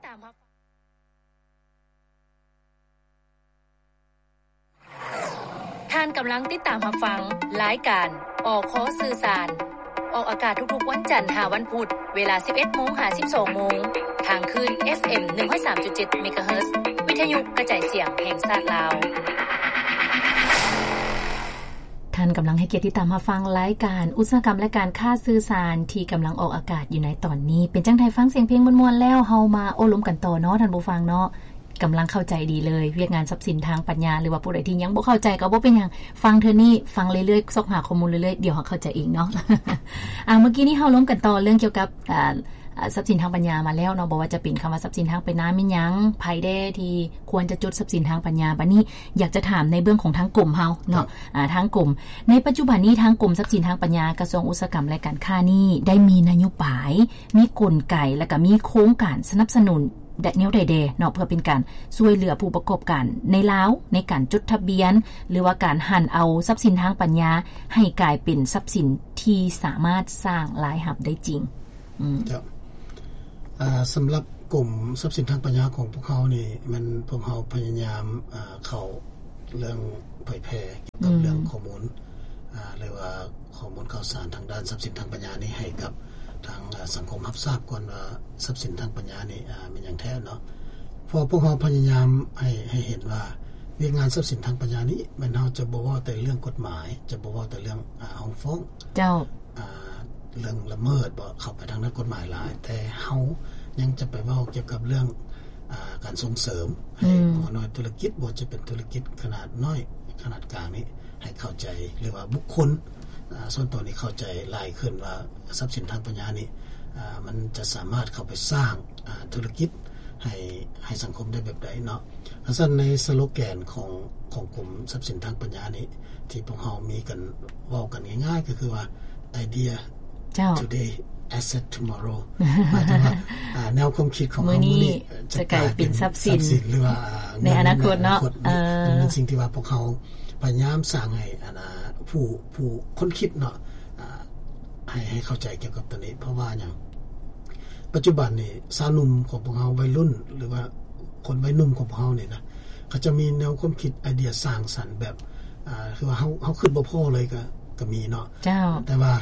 ຕາມຮັບ ທ່ານກຳລັງຕິດຕາມຮັບຟັງລາຍການ ອຄ ສື່ສານ ອອກອາກາດທຸກໆວັນຈັນຫາວັນພຸດ ເວລາສິບເອັດໂມງຫາສິບສອງໂມງ ທາງຄື້ນ ເອັຟເອັມ ໜຶ່ງຮ້ອຍສາມຈຸດເຈັດ ເມກາເຮີດ ວິທະຍຸກະຈາຍສຽງແຫ່ງຊາດລາວ. ທ່ານກຳລັງໃຫ້ກຽດຕິດຕາມຮັບຟັງລາຍການອຸດສາຫະກຳ ແລະ ການຄ້າສື່ສານ ທີ່ກຳລັງອອກອາກາດຢູ່ໃນຕອນນີ້. ເປັນຈັ່ງໃດ ຟັງສຽງເພງມ່ວນໆແລ້ວ ເຮົາມາໂອ້ລົມກັນຕໍ່ເນາະ ທ່ານຜູ້ຟັງເນາະ. ກຳລັງເຂົ້າໃຈດີເລີຍ ວຽກງານຊັບສິນທາງປັນຍາ ຫຼືວ່າຜູ້ໃດທີ່ຍັງບໍ່ເຂົ້າໃຈກໍບໍ່ເປັນຫຍັງ ຟັງເທື່ອນີ້ ຟັງເລື້ອຍໆ ຊອກຫາຂໍ້ມູນເລື້ອຍໆ ດຽວເຮົາເຂົ້າໃຈເອງເນາະ. ອາ ເມື່ອກີ້ນີ້ເຮົາລົມກັນຕໍ່ເລື່ອງກ່ຽວກັບ ອາ ອາ ຊັບສິນທາງປັນຍາມາແລ້ວເນາະ ບໍ່ວ່າຈະເປັນຄຳວ່າຊັບສິນທາງປັນຍາແມ່ນຫຍັງ ໃຜແດ່ທີ່ຄວນຈະຈົດຊັບສິນທາງປັນຍາ. ບາດນີ້ຢາກຈະຖາມໃນເບື້ອງຂອງທາງກົມເຮົາເນາະ ອາ ທາງກົມ ໃນປັດຈຸບັນນີ້ທາງກົມຊັບສິນທາງປັນຍາ ກະຊວງອຸດສາຫະກຳ ແລະ ການຄ້ານີ້ ໄດ້ມີນະໂຍບາຍ ມີກົນໄກ ແລະ ກະມີໂຄງການສະໜັບສະໜູນ ແນວໃດແດ່ເນາະ ເພື່ອເປັນການຊ່ວຍເຫຼືອຜູ້ປະກອບການໃນລາວ ໃນການຈົດທະບຽນ ຫຼືວ່າການຫັນເອົາຊັບສິນທາງປັນຍາໃຫ້ກາຍເປັນຊັບສິນທີ່ສາມາດສ້າງລາຍຮັບໄດ້ຈິງ? ອືມ ເຈົ້າ ອາ ສຳລັບກົມຊັບສິນທາງປັນຍາຂອງພວກເຮົານີ້ ແມ່ນພວກເຮົາພະຍາຍາມ ອາ ເຂົ້າເລື່ອງເຜີຍແຜ່ກ່ຽວກັບ ອືມ ເລື່ອງຂໍ້ມູນ ອາ ຫຼືວ່າ ຂໍ້ມູນຂ່າວສານທາງດ້ານຊັບສິນທາງປັນຍານີ້ໃຫ້ກັບທາງ ອາ ສັງຄົມຮັບຊາບກ່ອນວ່າຊັບສິນທາງປັນຍານີ້ ອາ ແມ່ນຫຍັງແທ້ເນາະ. ເພາະພວກເຮົາພະຍາຍາມໃຫ້ ໃຫ້ເຫັນວ່າວຽກງານຊັບສິນທາງປັນຍານີ້ ແມ່ນເຮົາຈະບໍ່ເວົ້າແຕ່ເລື່ອງກົດໝາຍ ຈະບໍ່ເວົ້າແຕ່ເລື່ອງ ອາ ຮ້ອງຟ້ອງ ເຈົ້າ ອາ ເລື່ອງລະເມີດບໍ່ ເຂົ້າໄປທາງດ້ານກົດໝາຍຫຼາຍ ແຕ່ເຮົາຍັງຈະໄປເວົ້າກ່ຽວກັບເລື່ອງ ອາ ການສົ່ງເສີມໃຫ້ ອືມ ຫົວໜ່ວຍທຸລະກິດ ບໍ່ວ່າຈະເປັນທຸລະກິດຂະໜາດນ້ອຍ ຂະໜາດກາງນີ້ ໃຫ້ເຂົ້າໃຈ ຫຼືວ່າບຸກຄົນ ອາ ສ່ວນຕົວນີ້ເຂົ້າໃຈຫຼາຍຂຶ້ນວ່າຊັບສິນທາງປັນຍານີ້ ອາ ມັນຈະສາມາດເຂົ້າໄປສ້າງ ອາ ທຸລະກິດໃຫ້ ໃຫ້ສັງຄົມໄດ້ແບບໃດເນາະ. ຄັນຊັ້ນໃນສະໂລແກນຂອງ ຂອງກົມຊັບສິນທາງປັນຍານີ້ ທີ່ພວກເຮົາມີກັນ ເວົ້າກັນງ່າຍໆ ກໍຄືວ່າ Idea ເຈົ້າ Today Asset Tomorrow ໝາຍເຖິງວ່າ ອາ ແນວຄວາມຄິດຂອງເຮົາມື້ນີ້ ມື້ນີ້ຈະກາຍເປັນຊັບສິນ ຊັບສິນ ຫຼືວ່າ ອາ ເງິນໃນອະນາຄົດເນາະ ໃນອະນາຄົດ. ເອີ ມັນເປັນສິ່ງທີ່ວ່າພວກເຮົາພະຍາຍາມສ້າງໃຫ້ ອັນ ອາ ຜູ້ ຜູ້ຄົ້ນຄິດເນາະ ອາ ໃຫ້ ໃຫ້ເຂົ້າໃຈກ່ຽວກັບຕົວນີ້ ເພາະວ່າຫຍັງ? ປັດຈຸບັນນີ້ຊາວໜຸ່ມຂອງພວກເຮົາ ໄວລຸ້ນ ຫຼືວ່າຄົນໄວໜຸ່ມຂອງພວກເຮົານີ້ນະ ເຂົາຈະມີແນວຄວາມຄິດໄອເດຍສ້າງສັນແບບ ອາ ຄືວ່າເຮົາ ເຮົາຄິດບໍ່ພໍ້ເລີຍກໍ ກໍມີເນາະ ເຈົ້າ ແຕ່ວ່າ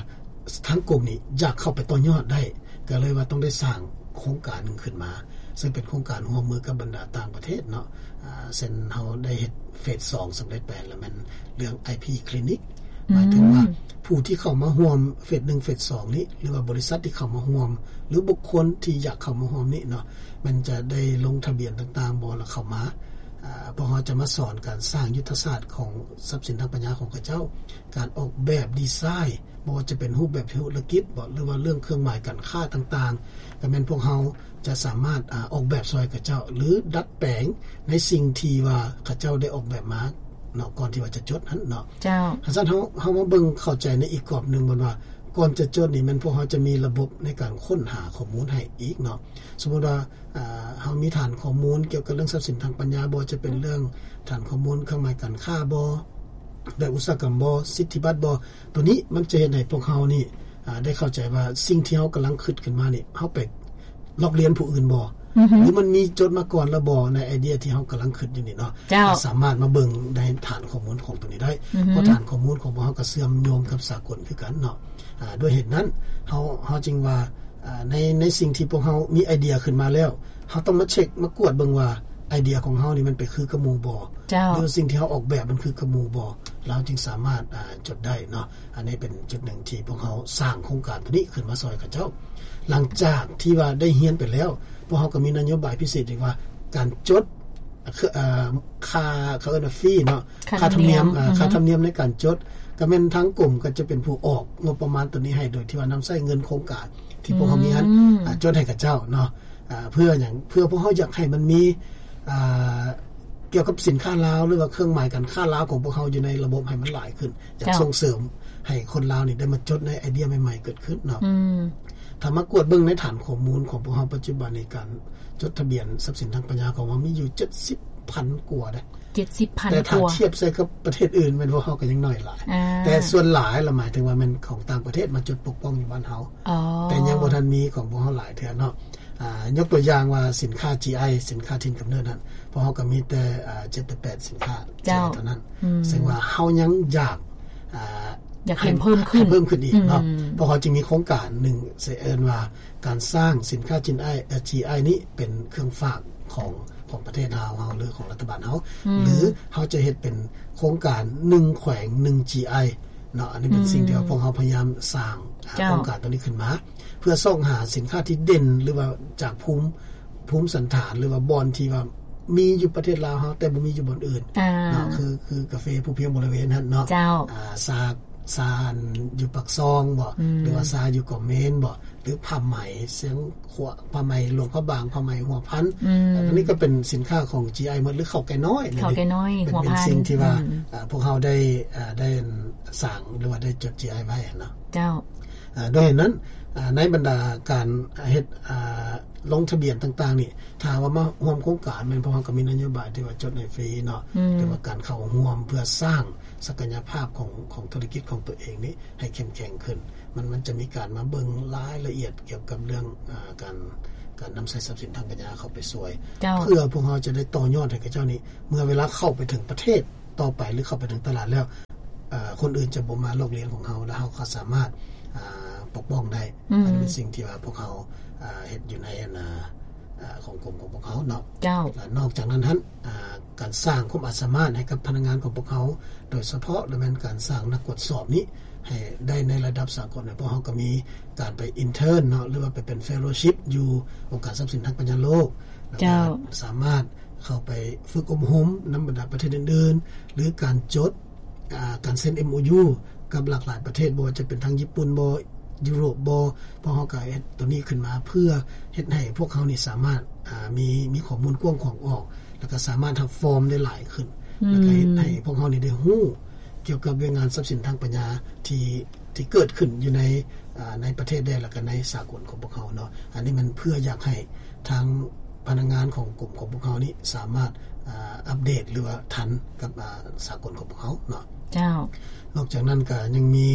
ທາງກົມນີ້ຢາກເຂົ້າໄປຕໍ່ຍອດໄດ້ ກໍເລີຍວ່າຕ້ອງໄດ້ສ້າງໂຄງການໜຶ່ງຂຶ້ນມາ ເຊິ່ງເປັນໂຄງການຮ່ວມມືກັບບັນດາຕ່າງປະເທດເນາະ ອາ ເຊັ່ນເຮົາໄດ້ເຮັດເຟສສອງສຳເລັດໄປ ແລ້ວແມ່ນເລື່ອງ ໄອພີ ຄລີນິກ ໝາຍເຖິງວ່າ ອືມ ຜູ້ທີ່ເຂົ້າມາຮ່ວມເຟສໜຶ່ງ ເຟສສອງນີ້ ຫຼືວ່າບໍລິສັດທີ່ເຂົ້າມາຮ່ວມ ຫຼືບຸກຄົນທີ່ຢາກເຂົ້າມາຮ່ວມນີ້ເນາະ ແມ່ນຈະໄດ້ລົງທະບຽນຕ່າງໆບໍ່ ແລ້ວເຂົ້າມາ ອາ ພວກເຮົາຈະມາສອນການສ້າງຍຸດທະສາດຂອງຊັບສິນທາງປັນຍາຂອງເຂົາເຈົ້າ ການອອກແບບດີໄຊ ບໍ່ວ່າຈະເປັນຮູບແບບທຸລະກິດບໍ ຫຼືວ່າເລື່ອງເຄື່ອງໝາຍການຄ້າຕ່າງໆ ກໍແມ່ນພວກເຮົາຈະສາມາດ ອາ ອອກແບບຊ່ອຍເຂົາເຈົ້າ ຫຼືດັດແປງໃນສິ່ງທີ່ວ່າເຂົາເຈົ້າໄດ້ອອກແບບມາເນາະ ກ່ອນທີ່ວ່າຈະຈົດຫັ້ນເນາະ ເຈົ້າ. ຄັນຊັ້ນເຮົາ ເຮົາມາເບິ່ງເຂົ້າໃຈໃນອີກກອບໜຶ່ງ ແມ່ນວ່າກ່ອນຈະຈົດນີ້ ແມ່ນພວກເຮົາຈະມີລະບົບໃນການຄົ້ນຫາຂໍ້ມູນໃຫ້ອີກເນາະ ສົມມຸດວ່າ ອາ ເຮົາມີຖານຂໍ້ມູນກ່ຽວກັບເລື່ອງຊັບສິນທາງປັນຍາບໍ ຈະເປັນເລື່ອງຖານຂໍ້ມູນເຄື່ອງໝາຍການຄ້າບໍ ແບບອຸດສາຫະກຳບໍ ສິດທິບັດບໍ ຕົວນີ້ມັນຈະເຮັດໃຫ້ພວກເຮົານີ້ ອາ ໄດ້ເຂົ້າໃຈວ່າສິ່ງທີ່ເຮົາກຳລັງຄິດຂຶ້ນມານີ້ ເຮົາໄປລອກລຽນຜູ້ອື່ນບໍ ອືຮຶ ຫຼືມັນມີຈົດມາກ່ອນແລ້ວບໍ ໃນໄອເດຍທີ່ເຮົາກຳລັງຄິດຢູ່ນີ້ເນາະ ເຈົ້າ ເຮົາສາມາດມາເບິ່ງໃນຖານຂໍ້ມູນຂອງຕົວນີ້ໄດ້ ອືຮຶ ເພາະຖານຂໍ້ມູນຂອງພວກເຮົາກໍເຊື່ອມໂຍງກັບສາກົນຄືກັນເນາະ ອາ ດ້ວຍເຫດນັ້ນ ເຮົາ ເຮົາຈຶ່ງວ່າ ອາ ໃນ ໃນສິ່ງທີ່ພວກເຮົາມີໄອເດຍຂຶ້ນມາແລ້ວ ເຮົາຕ້ອງມາເຊັກ ມາກວດເບິ່ງວ່າໄອເດຍຂອງເຮົານີ້ມັນໄປຄືກັບໝູ່ບໍ ເຈົ້າ ຫຼືວ່າສິ່ງທີ່ເຮົາອອກແບບມັນຄືກັບໝູ່ບໍ ແລ້ວເຮົາຈຶ່ງສາມາດ ອາ ຈົດໄດ້ເນາະ. ອັນນີ້ເປັນຈຸດໜຶ່ງທີ່ພວກເຮົາສ້າງໂຄງການຕົວນີ້ຂຶ້ນມາຊ່ອຍເຂົາເຈົ້າ. ຫຼັງຈາກທີ່ວ່າໄດ້ຮຽນໄປແລ້ວ ພວກເຮົາກໍມີນະໂຍບາຍພິເສດອີກວ່າ ການຈົດ ເອີ ຄ່າ ເຂົາເອີ້ນວ່າຟີເນາະ ຄ່າທຳນຽມ ຄ່າທຳນຽມ ອືຮຶ ອາ ຄ່າທຳນຽມໃນການຈົດ ກໍແມ່ນທາງກົມກໍຈະເປັນຜູ້ອອກງົບປະມານຕົວນີ້ໃຫ້ ໂດຍທີ່ວ່ານຳໃຊ້ເງິນໂຄງການທີ່ພວກເຮົາມີຫັ້ນ ອືມ ອາ ຈົດໃຫ້ເຂົາເຈົ້າເນາະ. ອາ ເພື່ອຫຍັງ? ເພື່ອພວກເຮົາຢາກໃຫ້ມັນມີ ອາ ກ່ຽວກັບສິນຄ້າລາວ ຫຼືວ່າເຄື່ອງໝາຍການຄ້າລາວຂອງພວກເຮົາຢູ່ໃນລະບົບໃຫ້ມັນຫຼາຍຂຶ້ນ ຢາກ ເຈົ້າ ສົ່ງເສີມໃຫ້ຄົນລາວນີ້ໄດ້ມາຈົດໃນໄອເດຍໃໝ່ໆເກີດຂຶ້ນເນາະ. ອືມ ຖ້າມາກວດເບິ່ງໃນຖານຂໍ້ມູນຂອງພວກເຮົາປັດຈຸບັນນີ້ ການຈົດທະບຽນຊັບສິນທາງປັນຍາຂອງເຮົາມີຢູ່ເຈັດສິບພັນກວ່າເດ້ ເຈັດສິບພັນ ແຕ່ຖ້າ ກວ່າ ທຽບໃສ່ກັບປະເທດອື່ນ ແມ່ນພວກເຮົາກໍຍັງໜ້ອຍຫຼາຍ ອາ ແຕ່ສ່ວນຫຼາຍລະ ໝາຍເຖິງວ່າແມ່ນຂອງຕ່າງປະເທດມາຈົດປົກປ້ອງຢູ່ບ້ານເຮົາ ອໍ ແຕ່ຍັງບໍ່ທັນມີຂອງພວກເຮົາຫຼາຍເທື່ອເນາະ. ອ່າ ຍົກຕົວຢ່າງວ່າສິນຄ້າ ຈີໄອ ສິນຄ້າຖິ່ນກຳເນີດນັ້ນ ພວກເຮົາກໍມີແຕ່ ອ່າ ເຈັດໄປແປດສິນຄ້າ ເຈົ້າ ຈີໄອ ເທົ່ານັ້ນ ອືມ ເຊິ່ງວ່າເຮົາຍັງຢາກ ອ່າ ຢາກເຫັນເພີ່ມຂຶ້ນ ໃຫ້ເພີ່ມຂຶ້ນອີກເນາະ ອືມ ພວກເຮົາຈຶ່ງມີໂຄງການໜຶ່ງ ເອີ້ນວ່າການສ້າງສິນຄ້າຈີໄອ ເອີ ຈີໄອ ນີ້ເປັນເຄື່ອງຝາກຂອງ ຂອງປະເທດລາວເຮົາ ຫຼື ຂອງລັດຖະບານເຮົາ ອືມ ຫຼື ເຮົາຈະເຮັດເປັນໂຄງການໜຶ່ງແຂວງໜຶ່ງຈີໄອເນາະ. ອັນນີ້ເປັນ ອືມ ສິ່ງທີ່ວ່າພວກເຮົາພະຍາຍາມສ້າງ ອ່າ ເຈົ້າ ໂຄງການຕົວນີ້ຂຶ້ນມາ ເພື່ອຊອກຫາສິນຄ້າທີ່ເດັ່ນ ຫຼືວ່າຈາກພູມ ພູມສັນຖານ ຫຼືວ່າບ່ອນທີ່ວ່າມີຢູ່ປະເທດລາວເຮົາ ແຕ່ບໍ່ມີຢູ່ບ່ອນອື່ນ ອ່າ ເນາະ ຄື ຄືກາເຟພູພຽງບໍລິເວນຫັ້ນເນາະ ເຈົ້າ ອ່າ ຊາ ຊາຢູ່ປາກຊ່ອງບໍ ອືມ ຫຼືວ່າຊາຢູ່ກອກເມນບໍ ຫຼືຜ້າໄໝຊຽງຂວາງ ຜ້າໄໝຫຼວງພະບາງ ຜ້າໄໝຫົວພັນ ອືມ ອັນນີ້ກໍເປັນສິນຄ້າຂອງຈີໄອໝົດ ຫຼືເຂົ້າໄກ່ນ້ອຍ ເຂົ້າໄກ່ນ້ອຍ ເປັນ ຫົວພັນ ເປັນສິ່ງທີ່ວ່າ ອືມ ອ່າ ພວກເຮົາໄດ້ ອ່າ ໄດ້ສ້າງ ຫຼືວ່າໄດ້ຈົດຈີໄອໄວ້ເນາະ ເຈົ້າ ອ່າ ດ້ວຍເຫດນັ້ນ ອ່າ ໃນບັນດາການເຮັດ ອ່າ ລົງທະບຽນຕ່າງໆນີ້ ຖ້າວ່າມາຮ່ວມໂຄງການ ແມ່ນພວກເຮົາກໍມີນະໂຍບາຍທີ່ວ່າຈົດໃຫ້ຟຣີເນາະ ອືມ ແຕ່ວ່າການເຂົ້າຮ່ວມເພື່ອສ້າງສັກກະຍະພາບຂອງ ຂອງທຸລະກິດຂອງຕົວເອງນີ້ໃຫ້ເຂັ້ມແຂງຂຶ້ນ ມັນ ມັນຈະມີການມາເບິ່ງລາຍລະອຽດກ່ຽວກັບເລື່ອງ ອ່າ ການ ການນຳໃຊ້ຊັບສິນທາງປັນຍາເຂົ້າໄປຊ່ວຍ ເຈົ້າ ເພື່ອພວກເຮົາຈະໄດ້ຕໍ່ຍອດໃຫ້ເຂົາເຈົ້ານີ້ ເມື່ອເວລາເຂົ້າໄປເຖິງປະເທດຕໍ່ໄປ ຫຼື ເຂົ້າໄປເຖິງຕະຫຼາດແລ້ວ ເອີ ຄົນອື່ນຈະບໍ່ມາລອກລຽນຂອງເຮົາ ແລ້ວເຮົາກໍສາມາດ ອ່າ ປົກປ້ອງໄດ້ ອືມ ອັນນີ້ເປັນສິ່ງທີ່ວ່າພວກເຮົາ ອ່າ ເຮັດຢູ່ໃນ ອັນ ອ່າ ຂອງກົມຂອງພວກເຮົາເນາະ ເຈົ້າ ແລະ ນອກຈາກນັ້ນຫັ້ນ ອ່າ ການສ້າງຄວາມອາດສາມາດໃຫ້ກັບພະນັກງານຂອງພວກເຮົາ ໂດຍສະເພາະລະແມ່ນການສ້າງນັກກວດສອບນີ້ ໃຫ້ໄດ້ໃນລະດັບສາກົນ ເພາະເຮົາກໍມີການໄປອິນເທີນເນາະ ຫຼືວ່າໄປເປັນເຟໂລຊິບຢູ່ອົງການຊັບສິນທາງປັນຍາໂລກ ແລ້ວກໍ ເຈົ້າ ສາມາດເຂົ້າໄປຝຶກອົບຮົມນຳບັນດາປະເທດອື່ນໆ ຫຼື ການຈົດ ອ່າ ການເຊັນເອັມໂອຢູກັບຫຼາກຫຼາຍປະເທດ ບໍ່ວ່າຈະເປັນທາງຍີ່ປຸ່ນບໍ ຢູໂຣບບໍ ພວກເຮົາກໍເຮັດຕົວນີ້ຂຶ້ນມາເພື່ອເຮັດໃຫ້ພວກເຮົານີ້ສາມາດ ອ່າ ມີ ມີຂໍ້ມູນກວ້າງຂວາງອອກ ແລ້ວກໍສາມາດຮັບຟອມໄດ້ຫຼາຍຂຶ້ນ ອືມ ແລ້ວກໍເຮັດໃຫ້ພວກເຮົານີ້ໄດ້ຮູ້ກ່ຽວກັບວຽກງານຊັບສິນທາງປັນຍາທີ່ ທີ່ເກີດຂຶ້ນຢູ່ໃນ ອ່າ ໃນປະເທດແດ່ ແລ້ວກໍໃນສາກົນຂອງພວກເຮົາເນາະ ອັນນີ້ມັນເພື່ອຢາກໃຫ້ທາງພະນັກງານຂອງກົມຂອງພວກເຮົານີ້ສາມາດ ອ່າ ອັບເດດ ຫຼືວ່າທັນກັບ ອ່າ ສາກົນຂອງພວກເຮົາເນາະ ເຈົ້າ ນອກຈາກນັ້ນກໍຍັງມີ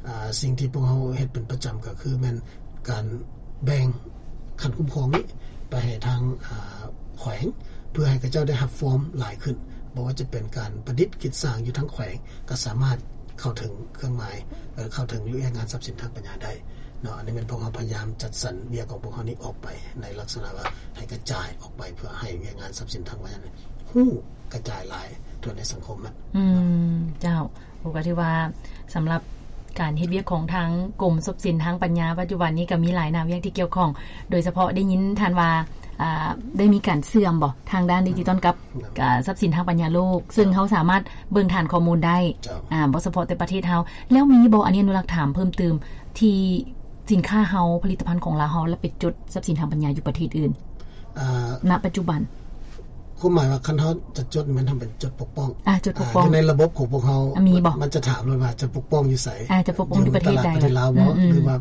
ອ່າ ສິ່ງທີ່ພວກເຮົາເຮັດເປັນປະຈຳກໍຄືແມ່ນການແບ່ງຂັ້ນຄຸ້ມຄອງນີ້ໄປໃຫ້ທາງ ອ່າ ແຂວງ ເພື່ອໃຫ້ເຂົາເຈົ້າໄດ້ຮັບຟອມຫຼາຍຂຶ້ນ ບໍ່ວ່າຈະເປັນການປະດິດກິດສ້າງຢູ່ທາງແຂວງ ກໍສາມາດເຂົ້າເຖິງເຄື່ອງໝາຍ ເອີ ເຂົ້າເຖິງວຽກງານຊັບສິນທາງປັນຍາໄດ້ເນາະ ອັນນີ້ແມ່ນພວກເຮົາພະຍາຍາມຈັດສັນວຽກຂອງພວກເຮົານີ້ອອກໄປ ໃນລັກສະນະວ່າໃຫ້ກະຈາຍອອກໄປ ເພື່ອໃຫ້ວຽກງານຊັບສິນທາງປັນຍານີ້ຮູ້ກະຈາຍຫຼາຍທົ່ວໃນສັງຄົມນະ ອືມ ເຈົ້າ ໂອ ກໍຖືວ່າສຳລັບການເຮັດວຽກຂອງທາງກົມຊັບສິນທາງປັນຍາປັດຈຸບັນນີ້ກໍມີຫຼາຍໜ້າວຽກທີ່ກ່ຽວຂ້ອງ ໂດຍສະເພາະໄດ້ຍິນທ່ານວ່າ ອ່າ ໄດ້ມີການເຊື່ອມບໍ ທາງດ້ານດິຈິຕອນກັບ ອ່າ ຊັບສິນທາງປັນຍາໂລກ ເຊິ່ງເຮົາສາມາດເບິ່ງຖານຂໍ້ມູນໄດ້ ເຈົ້າ ອ່າ ບໍ່ສະເພາະແຕ່ປະເທດເຮົາ ແລ້ວມີບໍ່ ອັນນີ້ອະນຸລັກຖາມເພີ່ມຕື່ມ ທີ່ສິນຄ້າເຮົາ ຜະລິດຕະພັນຂອງລາວເຮົາ ແລ້ວໄປຈົດຊັບສິນທາງປັນຍາຢູ່ປະເທດອື່ນ ອ່າ ນະປັດຈຸບັນ? ຄວາມໝາຍວ່າຄັນເຮົາຈະຈົດແມ່ນເຮົາເປັນຈົດປົກປ້ອງ ອ່າ ຈົດປົກປ້ອງ ອ່າ ຢູ່ໃນລະບົບຂອງພວກເຮົາ ອ່າ ມີບໍ່? ມັນຈະຖາມໂລດວ່າຈະປົກປ້ອງຢູ່ໃສ? ອ່າ ຈະປົກປ້ອງຢູ່ປະເທດໃດ? ຢູ່ຕະຫຼາດປະເທດລາວບໍ່? ອືມໆ ຫຼືວ່າ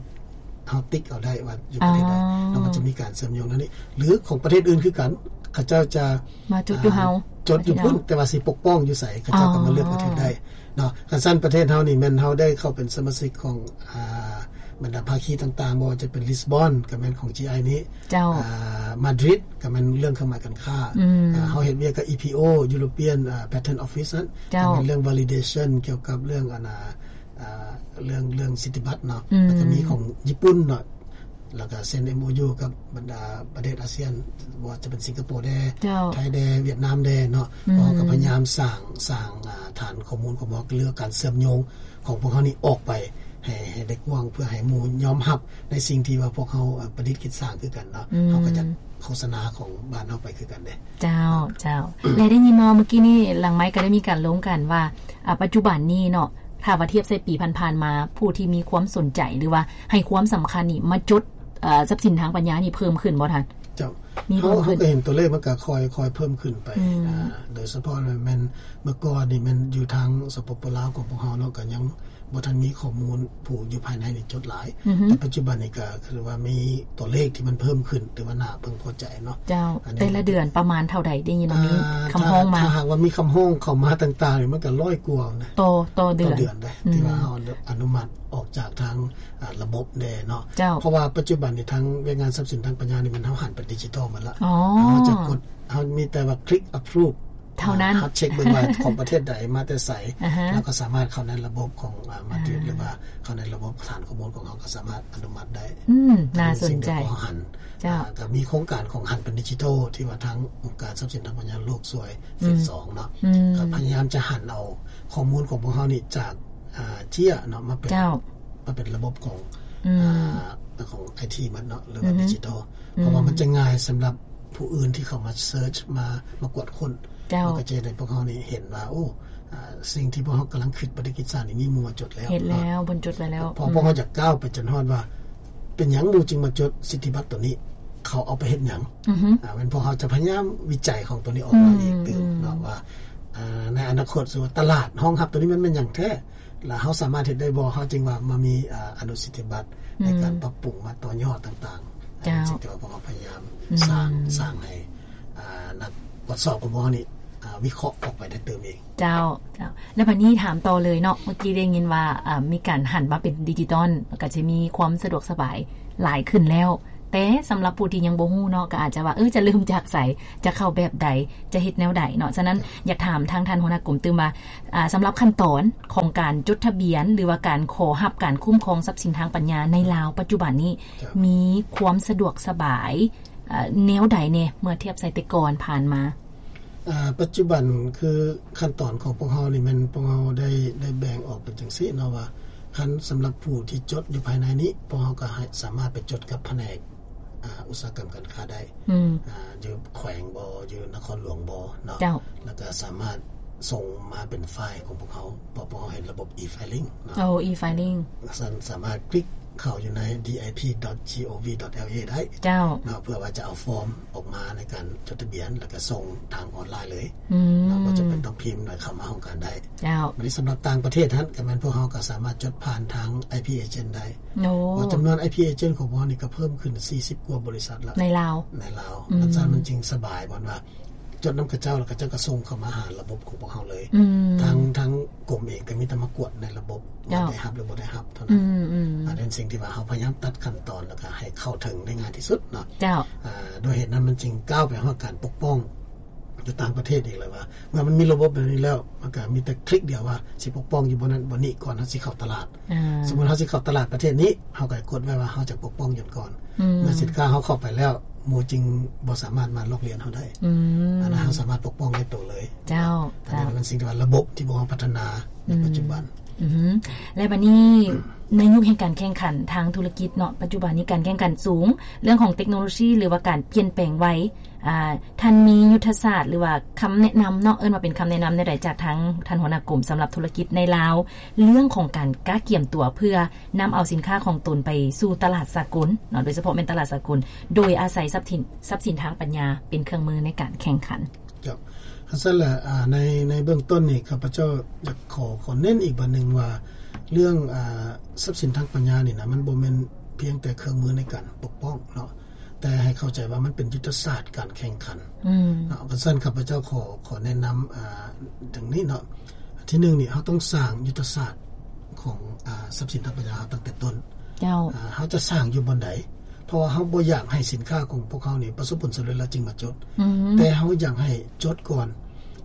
ເຮົາຕິກເອົາໄດ້ວ່າຢູ່ປະເທດໃດ? ອໍ ແລ້ວມັນຈະມີການເຊື່ອມໂຍງນັ້ນນີ້ ຫຼືຂອງປະເທດອື່ນຄືກັນ ເຂົາເຈົ້າຈະມາຈົດຢູ່ເຮົາ ອ່າ ຈົດຢູ່ພຸ້ນ ແຕ່ວ່າຊິປົກປ້ອງຢູ່ໃສ ເຂົາເຈົ້າກໍມາເລືອກປະເທດໄດ້ເນາະ. ຄັນຊັ້ນປະເທດເຮົານີ້ແມ່ນເຮົາໄດ້ເຂົ້າເປັນສະມາຊິກຂອງ ອ່າ ບັນດາພາຄີຕ່າງໆ ບໍ່ວ່າຈະເປັນລິສບອນ ກໍແມ່ນຂອງ GI ນີ້ ເຈົ້າ ອ່າ ມາດຣິດ ກໍແມ່ນເລື່ອງເຄື່ອງໝາຍການຄ້າ ອືມ ອ່າ ເຮົາເຮັດວຽກກັບ EPO European ອ່າ Patent Office ນັ້ນ ເຈົ້າ ກໍແມ່ນເລື່ອງ validation ກ່ຽວກັບເລື່ອງ ອັນ ອ່າ ເລື່ອງ ເລື່ອງສິດທິບັດເນາະ ອືມ ແລ້ວກໍມີຂອງຍີ່ປຸ່ນເນາະ ແລ້ວກໍເຊັນ MOU ກັບບັນດາປະເທດອາຊຽນ ບໍ່ວ່າຈະເປັນສິງກະໂປແດ່ ເຈົ້າ ໄທແດ່ ຫວຽດນາມແດ່ເນາະ ອືມ ເຮົາກໍພະຍາຍາມສ້າງ ສ້າງ ອ່າ ຖານຂໍ້ມູນຂອງພວກເຮົາ ຫຼືການເຊື່ອມໂຍງຂອງພວກເຮົານີ້ອອກໄປ ໃຫ້ ໃຫ້ໄດ້ກວ້າງ ເພື່ອໃຫ້ໝູ່ຍອມຮັບໃນສິ່ງທີ່ວ່າພວກເຮົາ ເອີ ປະດິດຄິດສ້າງຄືກັນເນາະ ອືມ ເຮົາກໍຈະໂຄສະນາຂອງບ້ານເຮົາໄປຄືກັນເດ້. ເຈົ້າ ເຈົ້າ ແລະໄດ້ຍິນມາເມື່ອກີ້ນີ້ ຫຼັງໄມກໍໄດ້ມີການລົມກັນວ່າ ອາ ປັດຈຸບັນນີ້ເນາະ ຖ້າວ່າທຽບໃສ່ປີຜ່ານໆມາ ຜູ້ທີ່ມີຄວາມສົນໃຈ ຫຼືວ່າໃຫ້ຄວາມສຳຄັນນີ້ ມາຈົດ ເອີ ຊັບສິນທາງປັນຍານີ້ເພີ່ມຂຶ້ນບໍ່ທ່ານ? ເຈົ້າ ມີເພີ່ມຂຶ້ນ ເຮົາກໍເຫັນຕົວເລກມັນກໍຄ່ອຍ ຄ່ອຍເພີ່ມຂຶ້ນໄປ ອືມ ອາ ໂດຍສະເພາະແມ່ນເມື່ອກ່ອນນີ້ແມ່ນຢູ່ທາງ ສປປ ລາວ ຂອງພວກເຮົາເນາະ ກໍຍັງ ບໍ່ທັນມີຂໍ້ມູນຜູ້ຢູ່ພາຍໃນນີ້ຈົດຫຼາຍ ອືຮຶ ແຕ່ປັດຈຸບັນນີ້ກໍຄືວ່າມີຕົວເລກທີ່ມັນເພີ່ມຂຶ້ນ ຖືວ່າໜ້າເພິ່ງພໍໃຈເນາະ. ເຈົ້າ ອັນນີ້ ແຕ່ລະເດືອນປະມານເທົ່າໃດ? ໄດ້ຍິນວ່າມີ ອ່າ ຄຳຮ້ອງມາ ຖ້າຫາກວ່າມີຄຳຮ້ອງເຂົ້າມາຕ່າງໆນີ້ ມັນກໍຮ້ອຍກວ່ານະ ຕໍ່ ຕໍ່ເດືອນ ຕໍ່ເດືອນເດ້ ອືມ ທີ່ວ່າເຮົາອະນຸມັດອອກຈາກທາງ ອ່າ ລະບົບແດ່ເນາະ. ເຈົ້າ ເພາະວ່າປັດຈຸບັນນີ້ທາງວຽກງານຊັບສິນທາງປັນຍານີ້ ແມ່ນເຮົາຫັນເປັນດິຈິຕອນໝົດລະ. ອໍ ເຮົາຈະກົດ ເຮົາມີແຕ່ວ່າຄລິກ approve ເທົ່ານັ້ນ ເຮົາເຊັກເບິ່ງວ່າຂອງປະເທດໃດ ມາແຕ່ໃສ ອາຮະ ແລ້ວກໍສາມາດເຂົ້າໃນລະບົບຂອງ ອ່າ ມາດຣິດ ອ່າ ຫຼືວ່າເຂົ້າໃນລະບົບຖານຂໍ້ມູນຂອງເຮົາ ກໍສາມາດອະນຸມັດໄດ້. ອືມ ໜ້າສົນໃຈ. ເຈົ້າ ອ່າ ກໍມີໂຄງການຂອງຫັນເປັນດິຈິຕອນ ທີ່ວ່າທາງອົງການຊັບສິນທາງປັນຍາໂລກຊ່ວຍ ອືມ ເຟສສອງເນາະ ອືມ ກໍພະຍາຍາມຈະຫັນເອົາຂໍ້ມູນຂອງພວກເຮົານີ້ຈາກ ອ່າ ເຈ້ຍເນາະ ມາເປັນ ເຈົ້າ ມາເປັນລະບົບຂອງ ອືມ ອ່າ ຂອງໄອທີໝົດເນາະ ຫຼືວ່າ ອືຮຶ ດິຈິຕອນ ອືມ ເພາະວ່າມັນຈະງ່າຍສຳລັບຜູ້ອື່ນທີ່ເຂົ້າມາເສີດ ມາ ມາກວດຄົ້ນ ເຈົ້າ ມັນກໍຈະເຮັດໃຫ້ພວກເຮົານີ້ເຫັນວ່າ ໂອ້ ອ່າ ສິ່ງທີ່ພວກເຮົາກຳລັງຄິດປະຕິກິດສານີ້ ມີໝູ່ມາຈົດແລ້ວ ເຮັດແລ້ວ ເນາະ ເພິ່ນຈົດໄວ້ແລ້ວ ເພາະ ອືມ ພວກເຮົາຈະກ້າວໄປຈົນຮອດວ່າ ເປັນຫຍັງໝູ່ຈຶ່ງມາຈົດສິດທິບັດໂຕນີ້ ເຂົາເອົາໄປເຮັດຫຍັງ? ອືຮຶ ອ່າ ແມ່ນພວກເຮົາຈະພະຍາຍາມວິໄຈຂອງໂຕນີ້ອອກມາອີກຕື່ມ ອືມ ເນາະ ວ່າ ອ່າ ໃນອະນາຄົດ ສົມມຸດວ່າຕະຫຼາດຮອງຮັບໂຕນີ້ມັນແມ່ນຫຍັງແທ້? ແລ້ວເຮົາສາມາດເຮັດໄດ້ບໍ່? ເຮົາຈຶ່ງວ່າມາມີ ອ່າ ອະນຸສິດທິບັດ ອືມ ໃນການປັບປຸງ ມາຕໍ່ຍອດຕ່າງໆ ເຈົ້າ ສິ່ງທີ່ວ່າພວກເຮົາພະຍາຍາມ ອືມ ສ້າງ ສ້າງໃຫ້ ອ່າ ນັກກວດສອບຂອງພວກເຮົານີ້ ອ່າ ວິເຄາະອອກໄປໄດ້ຕື່ມອີກ. ເຈົ້າ ເຈົ້າ ແລ້ວບັດນີ້ຖາມຕໍ່ເລີຍເນາະ ເມື່ອກີ້ໄດ້ຍິນວ່າ ອ່າ ມີການຫັນມາເປັນດິຈິຕອນ ກໍຈະມີຄວາມສະດວກສະບາຍຫຼາຍຂຶ້ນແລ້ວ ແຕ່ສຳລັບຜູ້ທີ່ຍັງບໍ່ຮູ້ເນາະ ກໍອາດຈະວ່າ ເອີ ຈະເລີ່ມຈາກໃສ ຈະເຂົ້າແບບໃດ ຈະເຮັດແນວໃດເນາະ. ສະນັ້ນ ຢາກຖາມທາງທ່ານຫົວໜ້າກົມຕື່ມວ່າ ອ່າ ສຳລັບຂັ້ນຕອນຂອງການຈົດທະບຽນ ຫຼືວ່າການຂໍຮັບການຄຸ້ມຄອງຊັບສິນທາງປັນຍາໃນລາວປັດຈຸບັນນີ້ ເຈົ້າ ມີຄວາມສະດວກສະບາຍ ເອີ ແນວໃດແດ່ ເມື່ອທຽບໃສ່ແຕ່ກ່ອນຜ່ານມາ? ອ່າ ປັດຈຸບັນຄືຂັ້ນຕອນຂອງພວກເຮົານີ້ແມ່ນພວກເຮົາໄດ້ ໄດ້ແບ່ງອອກເປັນຈັ່ງຊີ້ເນາະ ວ່າຄັນສຳລັບຜູ້ທີ່ຈົດຢູ່ພາຍໃນນີ້ ພວກເຮົາກໍໃຫ້ສາມາດໄປຈົດກັບພະແນກ ອ່າ ອຸດສາຫະກຳການຄ້າໄດ້ ອືມ ອ່າ ຢູ່ແຂວງບໍ ຢູ່ນະຄອນຫຼວງບໍເນາະ ເຈົ້າ ແລ້ວກໍສາມາດສົ່ງມາເປັນໄຟລ໌ຂອງພວກເຮົາ ເພາະພວກເຮົາເຮັດລະບົບ e-filing ເນາະ ໂອ້ e-filing ສາ ສາມາດຄລິກເຂົ້າຢູ່ໃນ dipi.gov.la ໄດ້ ເຈົ້າ ເນາະ ເພື່ອວ່າຈະເອົາຟອມອອກມາໃນການຈົດທະບຽນ ແລ້ວກໍສົ່ງທາງອອນລາຍເລີຍ ອືມ ເນາະ ບໍ່ຈຳເປັນຕ້ອງພິມ ແລ້ວເຂົ້າມາຫ້ອງການໄດ້ ເຈົ້າ ບັດນີ້ສຳລັບຕ່າງປະເທດຫັ້ນ ກໍແມ່ນພວກເຮົາກໍສາມາດຈົດຜ່ານທາງ IP Agent ໄດ້ ໂອ້ ເພາະຈຳນວນ IP Agent ຂອງພວກເຮົານີ້ກໍເພີ່ມຂຶ້ນສີ່ສິບກວ່າບໍລິສັດລະ ໃນລາວ ໃນລາວ ອືມ ອັນຊັ້ນມັນຈຶ່ງສະບາຍ ບ່ອນວ່າຈົດນຳເຂົາເຈົ້າ ແລ້ວເຂົາເຈົ້າກໍສົ່ງເຂົ້າມາຫາລະບົບຂອງພວກເຮົາເລີຍ ອືມ ທາງ ທາງກົມເອງກໍມີແຕ່ມາກວດໃນລະບົບ ເຈົ້າ ວ່າໄດ້ຮັບ ຫຼືບໍ່ໄດ້ຮັບເທົ່ານັ້ນ ອືມໆ ອັນນັ້ນສິ່ງທີ່ວ່າເຮົາພະຍາຍາມຕັດຂັ້ນຕອນ ແລ້ວກໍໃຫ້ເຂົ້າເຖິງໄດ້ງ່າຍທີ່ສຸດເນາະ ເຈົ້າ ອ່າ ດ້ວຍເຫດນັ້ນມັນຈຶ່ງກ້າວໄປຮອດການປົກປ້ອງ ຢູ່ຕ່າງປະເທດອີກແລ້ວວ່າ ເມື່ອມັນມີລະບົບແບບນີ້ແລ້ວ ມັນກໍມີແຕ່ຄລິກດຽວວ່າຊິປົກປ້ອງຢູ່ບ່ອນນັ້ນບ່ອນນີ້ ກ່ອນເຮົາຊິເຂົ້າຕະຫຼາດ ອ່າ ສົມມຸດເຮົາຊິເຂົ້າຕະຫຼາດປະເທດນີ້ ເຮົາກໍກົດໄວ້ວ່າເຮົາຈະປົກປ້ອງຢູ່ກ່ອນ ອືມ ເມື່ອສິນຄ້າເຮົາເຂົ້າໄປແລ້ວ ໝູ່ຈຶ່ງບໍ່ສາມາດມາລອກລຽນເຮົາໄດ້ ອືມ ອັນນັ້ນເຮົາສາມາດປົກປ້ອງໄດ້ໂຕເລີຍ ເຈົ້າ ອັນນັ້ນເປັນສິ່ງທີ່ວ່າລະບົບທີ່ພວກເຮົາພັດທະນາໃນ ອືມ ປັດຈຸບັນ ອືຮຶ ແລະ ບັດນີ້ ໃນຍຸກແຫ່ງການແຂ່ງຂັນທາງທຸລະກິດເນາະ ປັດຈຸບັນນີ້ການແຂ່ງຂັນສູງ ເລື່ອງຂອງເຕັກໂນໂລຊີ ຫຼືວ່າການປ່ຽນແປງໄວ ອ່າ ທ່ານມີຍຸດທະສາດ ຫຼືວ່າຄຳແນະນຳເນາະ ເອີ້ນວ່າເປັນຄຳແນະນຳແນວໃດຈາກທາງທ່ານຫົວໜ້າກົມ ສຳລັບທຸລະກິດໃນລາວ ເລື່ອງຂອງການກະກຽມຕົວ ເພື່ອນຳເອົາສິນຄ້າຂອງຕົນໄປສູ່ຕະຫຼາດສາກົນເນາະ ໂດຍສະເພາະແມ່ນຕະຫຼາດສາກົນ ໂດຍອາໄສຊັບສິນ ຊັບສິນທາງປັນຍາເປັນເຄື່ອງມືໃນການແຂ່ງຂັນ? ເຈົ້າ ຄັນຊັ້ນແຫຼະ ອ່າ ໃນ ໃນເບື້ອງຕົ້ນນີ້ ຂ້າພະເຈົ້າຢາກຂໍ ຂໍເນັ້ນອີກບາດໜຶ່ງວ່າ ເລື່ອງ ອ່າ ຊັບສິນທາງປັນຍານີ້ນະ ມັນບໍ່ແມ່ນພຽງແຕ່ເຄື່ອງມືໃນການປົກປ້ອງເນາະ ແຕ່ໃຫ້ເຂົ້າໃຈວ່າມັນເປັນຍຸດທະສາດການແຂ່ງຂັນ ອືມ ເນາະ. ຄັນຊັ້ນຂ້າພະເຈົ້າຂໍ ຂໍແນະນຳ ອ່າ ດັ່ງນີ້ເນາະ ທີໜຶ່ງນີ້ ເຮົາຕ້ອງສ້າງຍຸດທະສາດຂອງ ອ່າ ຊັບສິນທາງປັນຍາເຮົາຕັ້ງແຕ່ຕົ້ນ ເຈົ້າ ອ່າ ເຮົາຈະສ້າງຢູ່ບ່ອນໃດ? ເພາະວ່າເຮົາບໍ່ຢາກໃຫ້ສິນຄ້າຂອງພວກເຮົານີ້ປະສົບຜົນສຳເລັດແລ້ວຈຶ່ງມາຈົດ ອືມ ແຕ່ເຮົາຢາກໃຫ້ຈົດກ່ອນ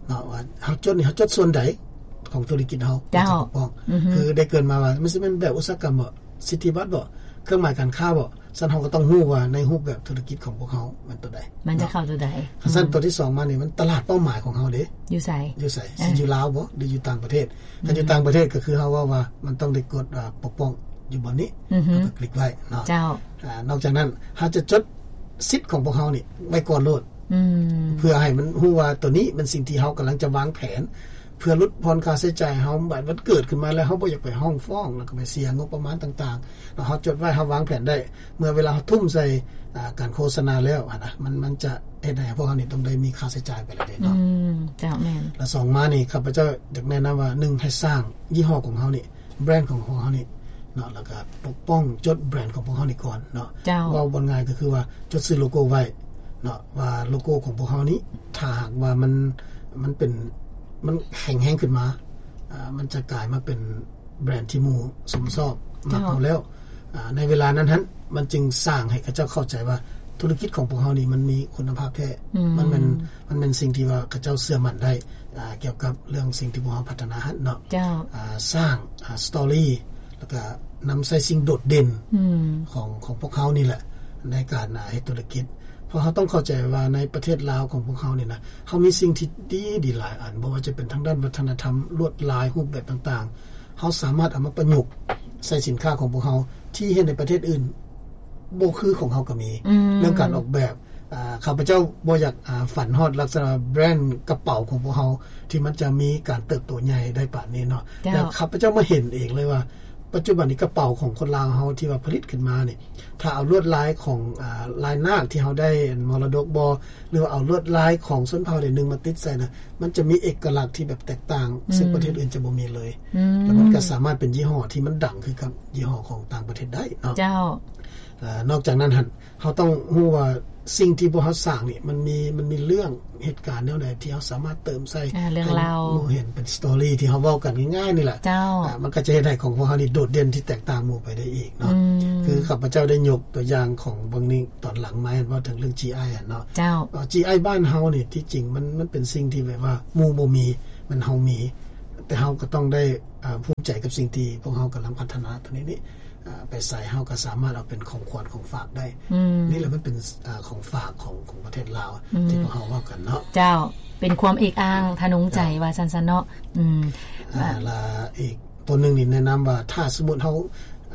ເນາະ ວ່າເຮົາຈົດນີ້ ເຮົາຈົດສ່ວນໃດຂອງທຸລະກິດເຮົາ ເຈົ້າ ເຮົາຈະປົກປ້ອງ ອືຮຶ ຄືໄດ້ເກີດມາວ່າ ມັນຊິແມ່ນແບບອຸດສາຫະກຳບໍ ສິດທິບັດບໍ ເຄື່ອງໝາຍການຄ້າບໍ ຊັ້ນເຮົາກໍຕ້ອງຮູ້ວ່າໃນຮູບແບບທຸລະກິດຂອງພວກເຮົາມັນຕົວໃດ ມັນຈະເຂົ້າຕົວໃດ ເນາະ. ຄັນຊັ້ນ ອືມ ຕົວທີສອງມານີ້ ມັນຕະຫຼາດເປົ້າໝາຍຂອງເຮົາເດ ຢູ່ໃສ? ຢູ່ໃສ? ເອີ ຊິຢູ່ລາວບໍ ຫຼືຢູ່ຕ່າງປະເທດ? ຄັນຢູ່ ອືມ ຕ່າງປະເທດກໍຄືເຮົາເວົ້າວ່າມັນຕ້ອງໄດ້ກົດ ອ່າ ປົກປ້ອງຢູ່ບ່ອນນີ້ ອືຮຶ ເຮົາກໍຄລິກໄວ້ເນາະ ເຈົ້າ ອ່າ ນອກຈາກນັ້ນເຮົາຈະຈົດສິດຂອງພວກເຮົານີ້ໄວ້ກ່ອນໂລດ ອືມ ເພື່ອໃຫ້ມັນຮູ້ວ່າໂຕນີ້ແມ່ນສິ່ງທີ່ເຮົາກຳລັງຈະວາງແຜນ ເພື່ອຫຼຸດຜ່ອນຄ່າໃຊ້ຈ່າຍເຮົາ ບາດມັນເກີດຂຶ້ນມາແລ້ວ ເຮົາບໍ່ຢາກໄປຮ້ອງຟ້ອງ ແລ້ວກໍໄປເສຍງົບປະມານຕ່າງໆ ເຮົາຈົດໄວ້ ເຮົາວາງແຜນໄດ້ ເມື່ອເວລາເຮົາທຸ່ມໃສ່ ອ່າ ການໂຄສະນາແລ້ວຫັ້ນນະ ມັນ ມັນຈະເຮັດໃຫ້ພວກເຮົານີ້ຕ້ອງໄດ້ມີຄ່າໃຊ້ຈ່າຍໄປແລ້ວເດເນາະ ອືມ ເຈົ້າ ແມ່ນ ແລະ ສອງມານີ້ ຂ້າພະເຈົ້າຢາກແນະນຳວ່າ ໜຶ່ງ ໃຫ້ສ້າງຍີ່ຫໍ້ຂອງເຮົານີ້ ແບຣນຂອງພວກເຮົານີ້ເນາະ ແລ້ວກໍປົກປ້ອງຈົດແບຣນຂອງພວກເຮົານີ້ກ່ອນເນາະ. ເຈົ້າ. ເວົ້າບໍ່ງ່າຍກໍຄືວ່າຈົດຊື່ໂລໂກ້ໄວ້ເນາະ ວ່າໂລໂກ້ຂອງພວກເຮົານີ້ ຖ້າຫາກວ່າມັນ ມັນເປັນ ມັນແຂງແຮງຂຶ້ນມາ ອາ ມັນຈະກາຍມາເປັນແບຣນທີ່ໝູ່ຊົມຊອບມັກເຮົາແລ້ວ. ເຈົ້າ. ອາ ໃນເວລານັ້ນຫັ້ນ ມັນຈຶ່ງສ້າງໃຫ້ເຂົາເຈົ້າເຂົ້າໃຈວ່າ ທຸລະກິດຂອງພວກເຮົານີ້ມັນມີຄຸນນະພາບແທ້. ອືມ. ມັນແມ່ນ ມັນແມ່ນສິ່ງທີ່ວ່າເຂົາເຈົ້າເຊື່ອໝັ້ນໄດ້ ອາ ກ່ຽວກັບເລື່ອງສິ່ງທີ່ພວກເຮົາພັດທະນາຫັ້ນເນາະ. ເຈົ້າ. ອາ ສ້າງ ອາ ສະຕໍຣີ ແລ້ວກະນຳໃຊ້ສິ່ງໂດດເດັ່ນ ອືມ ຂອງ ຂອງພວກເຮົານີ້ແຫຼະ ໃນການ ອາ ເຮັດທຸລະກິດ. ເພາະເຮົາຕ້ອງເຂົ້າໃຈວ່າໃນປະເທດລາວຂອງພວກເຮົານີ້ນະ ເຮົາມີສິ່ງທີ່ດີ ດີຫຼາຍອັນ ບໍ່ວ່າຈະເປັນທາງດ້ານວັດທະນະທຳ ລວດລາຍ ຮູບແບບຕ່າງໆ ເຮົາສາມາດເອົາມາປະຍຸກໃສ່ສິນຄ້າຂອງພວກເຮົາ ທີ່ເຮັດໃນປະເທດອື່ນບໍ່ຄືຂອງເຮົາກໍມີ. ອືມ. ເລື່ອງການອອກແບບ ອາ ຂ້າພະເຈົ້າບໍ່ຢາກ ອາ ຝັນຮອດລັກສະນະແບຣນກະເປົາຂອງພວກເຮົາ ທີ່ມັນຈະມີການເຕີບໂຕໃຫຍ່ໄດ້ປານນີ້ເນາະ. ເຈົ້າ. ແຕ່ຂ້າພະເຈົ້າມາເຫັນເອງເລີຍວ່າ ປັດຈຸບັນນີ້ກະເປົາຂອງຄົນລາວເຮົາທີ່ວ່າຜະລິດຂຶ້ນມານີ້ ຖ້າເອົາລວດລາຍຂອງ ອາ ລາຍນາກທີ່ເຮົາໄດ້ມໍລະດົກບໍ ຫຼືວ່າເອົາລວດລາຍຂອງຊົນເຜົ່າໃດໜຶ່ງມາຕິດໃສ່ນະ ມັນຈະມີເອກະລັກທີ່ແບບແຕກຕ່າງ ອືມ ຊຶ່ງປະເທດອື່ນຈະບໍ່ມີເລີຍ. ອືມ. ແລ້ວມັນກໍສາມາດເປັນຍີ່ຫໍ້ທີ່ມັນດັງຄືກັບຍີ່ຫໍ້ຂອງຕ່າງປະເທດໄດ້ເນາະ. ເຈົ້າ. ອາ ນອກຈາກນັ້ນຫັ້ນ ເຮົາຕ້ອງຮູ້ວ່າສິ່ງທີ່ພວກເຮົາສ້າງນີ້ ມັນມີ ມັນມີເລື່ອງເຫດການແນວໃດທີ່ເຮົາສາມາດເຕີມໃສ່ ອາ ເລື່ອງລາວ ໃຫ້ໝູ່ເຫັນເປັນສະຕໍຣີທີ່ເຮົາເວົ້າກັນງ່າຍໆນີ້ແຫຼະ. ເຈົ້າ. ອາ ມັນກໍຈະເຮັດໃຫ້ຂອງພວກເຮົານີ້ໂດດເດັ່ນທີ່ແຕກຕ່າງໝູ່ໄປໄດ້ອີກເນາະ. ອືມ. ຄືຂ້າພະເຈົ້າໄດ້ຍົກຕົວຢ່າງຂອງເບິ່ງນີ້ຕອນຫຼັງມາ ເຫັນເວົ້າເຖິງເລື່ອງ ຈີໄອ ຫັ້ນເນາະ. ເຈົ້າ. ເອີ ຈີໄອ ບ້ານເຮົານີ້ ທີ່ຈິງມັນ ມັນເປັນສິ່ງທີ່ແບບວ່າໝູ່ບໍ່ມີ ມັນເຮົາມີ ແຕ່ເຮົາກໍຕ້ອງໄດ້ ອາ ພູມໃຈກັບສິ່ງທີ່ພວກເຮົາກຳລັງພັດທະນາຕົວນີ້ນີ້ ອາ ໄປໃສເຮົາກໍສາມາດເອົາເປັນຂອງຂວັນຂອງຝາກໄດ້. ອືມ. ນີ້ແຫຼະມັນເປັນ ອາ ຂອງຝາກຂອງ ຂອງປະເທດລາວ ອືມ ທີ່ພວກເຮົາເວົ້າກັນເນາະ. ເຈົ້າ. ເປັນຄວາມເອກອ້າງທະນົງໃຈ ເຈົ້າ ວ່າຊັ້ນຊະເນາະ. ອືມ. ອາ ລະອີກຕົວໜຶ່ງນີ້ແນະນຳວ່າ ຖ້າສົມມຸດເຮົາ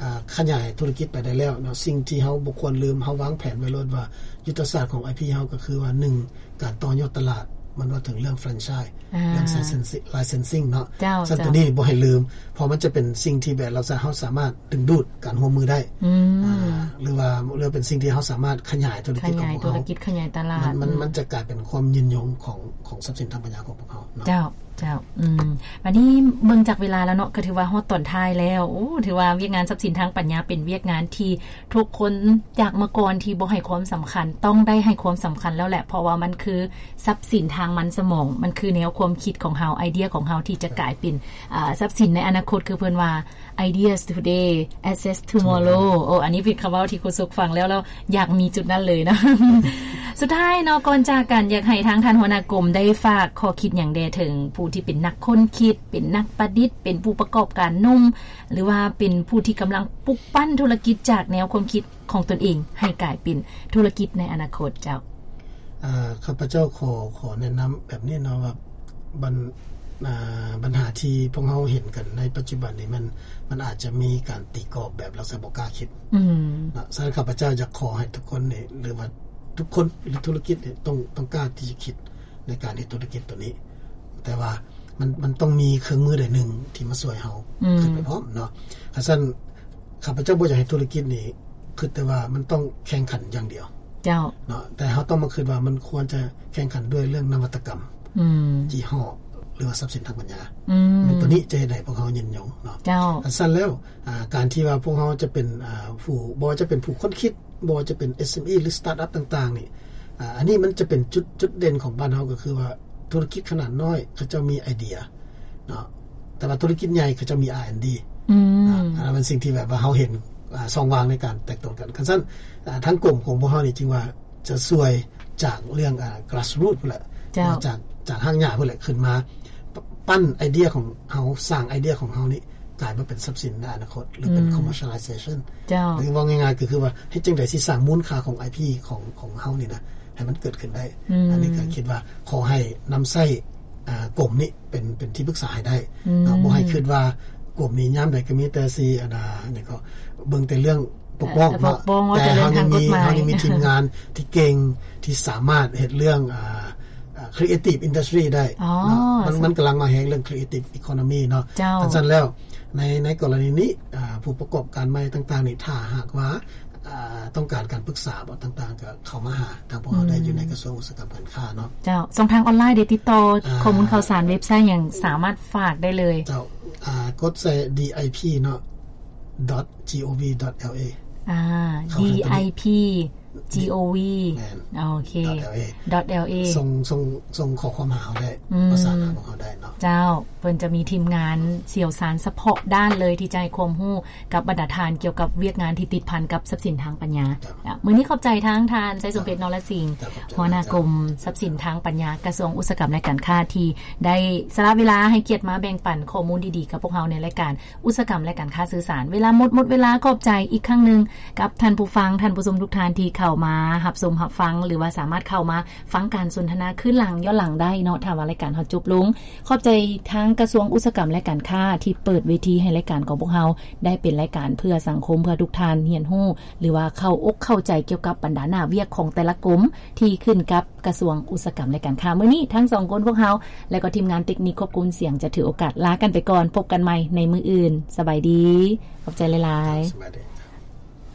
ອາ ຂະຫຍາຍທຸລະກິດໄປໄດ້ແລ້ວເນາະ ສິ່ງທີ່ເຮົາບໍ່ຄວນລືມ ເຮົາວາງແຜນໄວ້ໂລດວ່າ ຍຸດທະສາດຂອງ ໄອ ພີ ເຮົາກໍຄືວ່າ ໜຶ່ງ ການຕໍ່ຍອດຕະຫຼາດ ມັນເວົ້າເຖິງເລື່ອງ franchise ອາ ເລື່ອງ licensing ເນາະ. ເຈົ້າ. ຊັ້ນ ເຈົ້າ ຕົວນີ້ບໍ່ໃຫ້ລືມ ເພາະມັນຈະເປັນສິ່ງທີ່ແບບລັກສະນະເຮົາສາມາດດຶງດູດການຮ່ວມມືໄດ້. ອືມ. ອາ ຫຼືວ່າ ຫຼືເປັນສິ່ງທີ່ເຮົາສາມາດຂະຫຍາຍທຸລະກິດຂອງພວກເຮົາ ຂະຫຍາຍທຸລະກິດ ຂະຫຍາຍຕະຫຼາດ. ມັນ ມັນ ອືມ ມັນຈະກາຍເປັນຄວາມຍືນຍົງຂອງ ຂອງຊັບສິນທາງປັນຍາຂອງພວກເຮົາເນາະ. ເຈົ້າ. ເຈົ້າ. ອືມ ບາດນີ້ເບິ່ງຈາກເວລາແລ້ວເນາະ ກໍຖືວ່າຮອດຕອນທ້າຍແລ້ວ. ໂອ້ ຖືວ່າວຽກງານຊັບສິນທາງປັນຍາເປັນວຽກງານທີ່ທຸກຄົນຈາກເມື່ອກ່ອນທີ່ບໍ່ໃຫ້ຄວາມສຳຄັນ ຕ້ອງໄດ້ໃຫ້ຄວາມສຳຄັນແລ້ວແຫຼະ ເພາະວ່າມັນຄືຊັບສິນທາງມັນສະໝອງ ມັນຄືແນວຄວາມຄິດຂອງເຮົາ ໄອເດຍຂອງເຮົາທີ່ຈະກາຍເປັນ ອາ ຊັບສິນໃນອະນາຄົດ ຄືເພິ່ນວ່າ ideas today, assets tomorrow. ໂອ້ ອັນນີ້ເປັນຄຳເວົ້າທີ່ຄູສຸກຟັງແລ້ວ ແລ້ວຢາກມີຈຸດນັ້ນເລີຍເນາະ. ສຸດທ້າຍເນາະ ກ່ອນຈາກກັນ ຢາກໃຫ້ທາງທ່ານຫົວໜ້າກົມໄດ້ຝາກຂໍ້ຄິດຫຍັງແດ່ເຖິງຜູ້ທີ່ເປັນນັກຄົ້ນຄິດ, ເປັນນັກປະດິດ, ເປັນຜູ້ປະກອບການໜຸ່ມ ຫຼືວ່າເປັນຜູ້ທີ່ກຳລັງປຸກປັ້ນທຸລະກິດຈາກແນວຄວາມຄິດຂອງຕົນເອງ ໃຫ້ກາຍເປັນທຸລະກິດໃນອະນາຄົດເຈົ້າ? ອາ ຂ້າພະເຈົ້າຂໍ ຂໍແນະນຳແບບນີ້ເນາະ ວ່າບັນ ອາ ບັນຫາທີ່ພວກເຮົາເຫັນກັນໃນປັດຈຸບັນນີ້ ມັນ ມັນອາດຈະມີການຕີກອບແບບລັກສະນະບໍ່ກ້າຄິດ ອືມ ເນາະ. ສະນັ້ນ ຂ້າພະເຈົ້າຢາກຂໍໃຫ້ທຸກຄົນນີ້ ຫຼືວ່າທຸກຄົນ ຫຼືທຸລະກິດນີ້ ຕ້ອງ ຕ້ອງກ້າທີ່ຈະຄິດໃນການເຮັດທຸລະກິດຕົວນີ້ ແຕ່ວ່າ ມັນ ມັນຕ້ອງມີເຄື່ອງມືໃດໜຶ່ງທີ່ມາຊ່ວຍເຮົາ ອືມ ຂຶ້ນໄປພ້ອມເນາະ. ຄັນຊັ້ນ ຂ້າພະເຈົ້າບໍ່ຢາກໃຫ້ທຸລະກິດນີ້ຄິດແຕ່ວ່າມັນຕ້ອງແຂ່ງຂັນຢ່າງດຽວ ເຈົ້າ ເນາະ ແຕ່ເຮົາຕ້ອງມາຄິດວ່າມັນຄວນຈະແຂ່ງຂັນດ້ວຍເລື່ອງນະວັດຕະກຳ ອືມ ຍີ່ຫໍ້ ຫຼືວ່າຊັບສິນທາງປັນຍາ ອືມ ມັນ ຕົວນີ້ຈະເຮັດໃຫ້ພວກເຮົາຍືນຍົງເນາະ ເຈົ້າ. ຄັນຊັ້ນແລ້ວ ອາ ການທີ່ວ່າພວກເຮົາຈະເປັນ ອາ ຜູ້ ບໍ່ວ່າຈະເປັນຜູ້ຄົ້ນຄິດ ບໍ່ວ່າຈະເປັນ ເອສເອັມອີ ຫຼື ສະຕາດອັບຕ່າງໆນີ້ ອາ ອັນນີ້ມັນຈະເປັນຈຸດ ຈຸດເດັ່ນຂອງບ້ານເຮົາ ກໍຄືວ່າທຸລະກິດຂະໜາດນ້ອຍເຂົາເຈົ້າມີໄອເດຍເນາະ ແຕ່ວ່າທຸລະກິດໃຫຍ່ເຂົາເຈົ້າມີ ອາ ແອນ ດີ ອືມ ອາ ອັນນັ້ນເປັນສິ່ງທີ່ແບບວ່າເຮົາເຫັນ ອາ ຊ່ອງວ່າງໃນການແຕກຕົນກັນ. ຄັນຊັ້ນ ອາ ທາງກົມຂອງພວກເຮົານີ້ຈຶ່ງວ່າຈະຊ່ວຍຈາກເລື່ອງ ອາ grassroot ພຸ້ນແຫຼະ ເຈົ້າ ຈາກ ຈາກຮາກຫຍ້າພຸ້ນແຫຼະ ຂຶ້ນມາ ປ- ປັ້ນໄອເດຍຂອງເຮົາ ສ້າງໄອເດຍຂອງເຮົານີ້ ກາຍມາເປັນຊັບສິນໃນອະນາຄົດ ຫຼືເປັນ ອືມ commercialization ເຈົ້າ ຫຼືເວົ້າງ່າຍໆ ກໍຄືວ່າເຮັດຈັ່ງໃດຊິສ້າງມູນຄ່າຂອງ ໄອ ພີ ຂອງ ຂອງເຮົານີ້ນະ ໃຫ້ມັນເກີດຂຶ້ນໄດ້ ອືມ ອັນນີ້ກໍຄິດວ່າຂໍໃຫ້ນຳໃຊ້ ອາ ກົມນີ້ເປັນ ເປັນທີ່ປຶກສາໃຫ້ໄດ້ ອືມ ເນາະ ບໍ່ໃຫ້ຄິດວ່າກົມນີ້ຍາມໃດກໍມີແຕ່ຊິ ອັນນາ ຫຍັງກໍເບິ່ງແຕ່ເລື່ອງປົກປ້ອງ ເອີ ເນາະ ແຕ່ເຮົາຍັງມີ ເຮົາຍັງມີທີມງານທີ່ເກັ່ງ ທີ່ສາມາດເຮັດເລື່ອງ ອາ ອາ creative industry ໄດ້ ອໍ ເນາະ ມັນ ມັນກຳລັງມາແຮງເລື່ອງ creative economy ເນາະ ເຈົ້າ ຄັນຊັ້ນແລ້ວ ໃນ ໃນກໍລະນີນີ້ ອາ ຜູ້ປະກອບການໃໝ່ຕ່າງໆນີ້ ຖ້າຫາກວ່າ ອາ ຕ້ອງການການປຶກສາບໍຕ່າງໆ ກໍເຂົ້າມາຫາທາງພວກເຮົາໄດ້ ອືມ ຢູ່ໃນກະຊວງອຸດສາຫະກຳການຄ້າເນາະ ເຈົ້າ. ຊ່ອງທາງອອນລາຍເດ ຕິດຕໍ່ ອາ ຂໍ້ມູນຂ່າວສານ ເວັບໄຊຫຍັງ ສາມາດຝາກໄດ້ເລີຍ ເຈົ້າ. ອ່າ ກົດໃສ່ ດີໄອພີ ເນາະ .gov.la ອ່າ ດີໄອພີ .gov ແມ່ນ ໂອເຄ .la ສົ່ງ ສົ່ງ ສົ່ງຂໍ້ຄວາມຫາເຮົາໄດ້ ອືມ ປະສານຫາພວກເຮົາໄດ້ເນາະ. ເຈົ້າ ເພິ່ນຈະມີທີມງານຊ່ຽວຊານສະເພາະດ້ານເລີຍ ທີ່ຈະໃຫ້ຄວາມຮູ້ກັບບັນດາທ່ານກ່ຽວກັບວຽກງານທີ່ຕິດພັນກັບຊັບສິນທາງປັນຍາ. ເຈົ້າ ມື້ນີ້ຂອບໃຈທາງທ່ານ ໄຊສົມເພັດ ເຈົ້າ ນໍລະສິງ ເຈົ້າ ຂອບໃຈ ຫົວໜ້າກົມຊັບສິນທາງປັນຍາ ກະຊວງອຸດສາຫະກຳ ແລະ ການຄ້າ ທີ່ໄດ້ສະຫຼະເວລາໃຫ້ກຽດມາແບ່ງປັນຂໍ້ມູນດີໆກັບພວກເຮົາໃນລາຍການ ອຸດສາຫະກຳ ແລະ ການຄ້າສື່ສານ. ເວລາໝົດ ໝົດເວລາ. ຂອບໃຈອີກຄັ້ງໜຶ່ງກັບທ່ານຜູ້ຟັງ, ທ່ານຜູ້ຊົມທຸກທ່ານທີ່ເຂົ້າມາຮັບຊົມຮັບຟັງ ຫຼືວ່າສາມາດເຂົ້າມາຟັງການສົນທະນາຄືນຫຼັງ ຍ້ອນຫຼັງໄດ້ເນາະ ຖ້າວ່າລາຍການເຮົາຈົບລົງ. ຂອບໃຈທາງກະຊວງອຸດສາຫະກຳ ແລະ ການຄ້າ ທີ່ເປີດເວທີໃຫ້ລາຍການຂອງພວກເຮົາໄດ້ເປັນລາຍການເພື່ອສັງຄົມ, ເພື່ອທຸກທ່ານຮຽນຮູ້ ຫຼືວ່າເຂົ້າອົກເຂົ້າໃຈກ່ຽວກັບບັນດາໜ້າວຽກຂອງແຕ່ລະກົມ ທີ່ຂຶ້ນກັບກະຊວງອຸດສາຫະກຳ ແລະ ການຄ້າ. ມື້ນີ້ທັງສອງຄົນພວກເຮົາ ແລະ ກໍທີມງານເຕັກນິກຄວບຄຸມສຽງຈະຖືໂອກາດລາກັນໄປກ່ອນ. ພົບກັນໃໝ່ໃນມື້ອື່ນ. ສະບາຍດີ. ຂອບໃຈຫຼາຍໆ. ສະບາຍດີ.